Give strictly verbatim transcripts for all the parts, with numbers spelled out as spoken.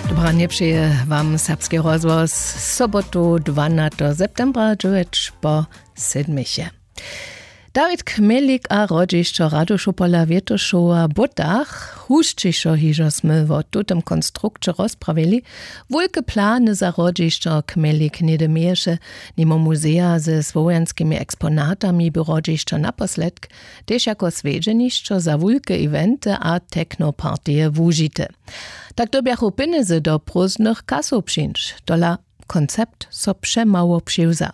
Dobranje přeje wam serbski rozhłos. Sobotu dwanateho septembra dźewjeć po sedmich je. Dawid Chmjelik a hrodźišćo Radušow pola Wětoszowa w Butach. Hušćišo hižo smy wo tutym konstrukće rozprawili. Wulke plany za hrodźišćo Chmjelik něhdy měješe, nimo muzeja ze słowjanskimi eksponatami by hrodźišćo naposledk tež jako swjedźenišćo za wulke eventy a technopartije wužite. Tak dyrbjachu pjenjezy do prózdnych kasow přińć. Tola koncept so přemało přiwza.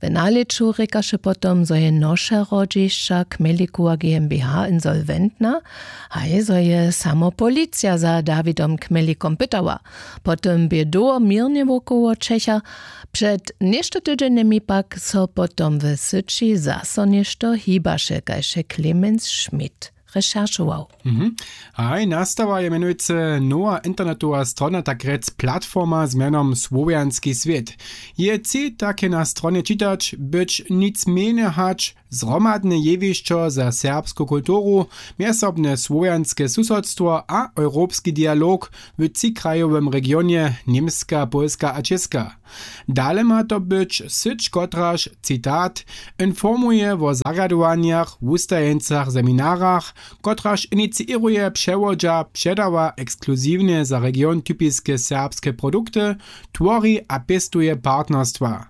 W nalěću rěkaše potom, zo je noše hrodźišća Chmjelikowa GmbH insolwentna, haj zo je samo policija za Dawidom Chmjelikom pytała. Potom bě dołho měrnje wokoło Čecha. Před něšto tydźenjemi pak so potom w syći zaso něšto hibaše, kaž je Clemens Schmidt recherchował. Mhm. Haj, nastała je mjenujcy nowa internetowa strona, tak rjec platforma z mjenom Słowjanski swět. Je tři take na stronje čitać, być nic mjenje hač zhromadne jewišćo za serbsku kulturu, mjezsobne słowjanske susodstwo a europski dialog w třikrajowym regionje Němska, Pólska a Čěska. Dale ma to być syć, kotraž, citat, informuje wo zarjadowanjach, wustajeńcach, seminarach, kotraž iniciěruje, přewodźa, předawa ekskluziwnje za region typiske serbske produkty, twori a pěstuje partnerstwa.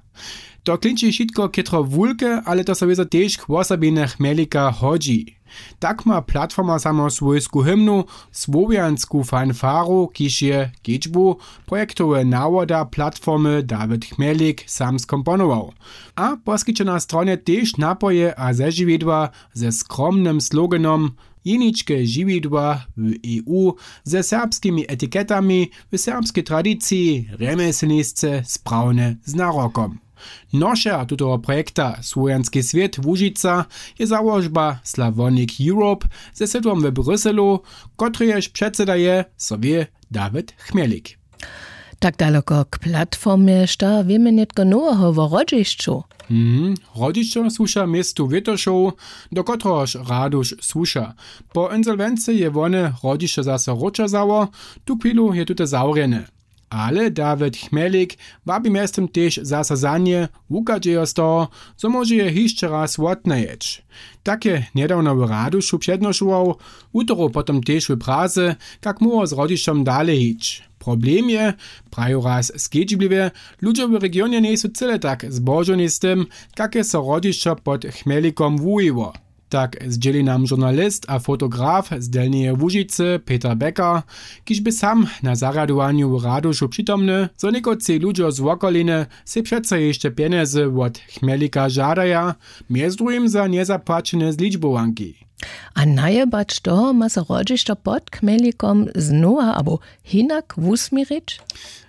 To klinči wšitko chětro wulke, ale to so wězo tež k wosobinje Chmjelika hodźi. Tak ma platforma samo swójsku hymnu, słowjansku fanfaru, kiž je kedźbu projektowe nawoda platformy Dawid Chmjelik sam skomponował. A poskiće na stronje tež napoje a zežiwidła ze skromnym sloganom: Jeničke žiwidła w E U ze serbskimi etiketami w serbskej tradiciji, rjemjeslnisce sprawne z narokom. Nošer tutoho projekta Słowjanski swět Łužica je załožba Slavonic Europe ze sydłom w Bruselu, kotrejež předsyda je, so wě, Dawid Chmjelik. Tak daloko k platformje. Šta wěmy nětko noweho wo hrodźišću? Mhm. Hrodźišćo słuša městu Wětošow, do kotrehož Raduš słuša. Po insolwency je wone hrodźišćo zaso wróćerzało. Tuchwilu je tute zawrjene. Ale Dawid Chmjelik wabi mjeztym tež zaso za nje, wuchadźejo z toho, zo móže je hišće raz wotnajeć. Tak je njedawno w Radušu přednošował, wutoru potom tež w Praze, kak móhło z hrodźišćom dale hić. Problem je, praju raz skedźbliwje, ludźo w regionje njejsu cyle tak zbožowni z tym, kak je so hrodźišćo pod Chmjelikom wuwiło. Tak zdźěli nam žurnalist a fotograf z Delnjeje Łužicy Peter Becker, kiž bě sam na zarjadowanju w Radušu přitomny, zo někotři ludźo z wokoliny sej přeco hišće pjenjezy wot Chmjelika žadaja, mjez druhim za njezapłaćene zličbowanki. A najebać toho ma so hrodźišćo pod Chmjelikom znowa abo hinak wusměrić?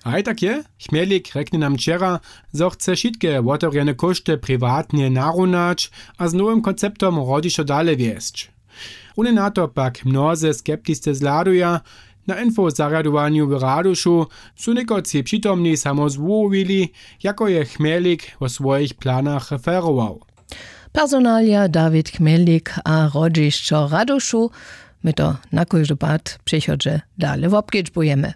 Haj, tak je. Chmjelik rjekny nam wčera, zo chce wšitke wotewrjene kóšty priwatnje narunać a z nowym konceptom hrodźišćo dale wjesć. Runje na to pak mnozy skeptisce zhladuja. Na info zarjadowanju w Radušu su někotři přitomni samo zwołowili, jako je Chmjelik wo swojich planach referował. Personalija Dawid Chmjelik a hrodźišćo Radušu. My to na kóždy pad w přichodźe dale wobkedźbujemy.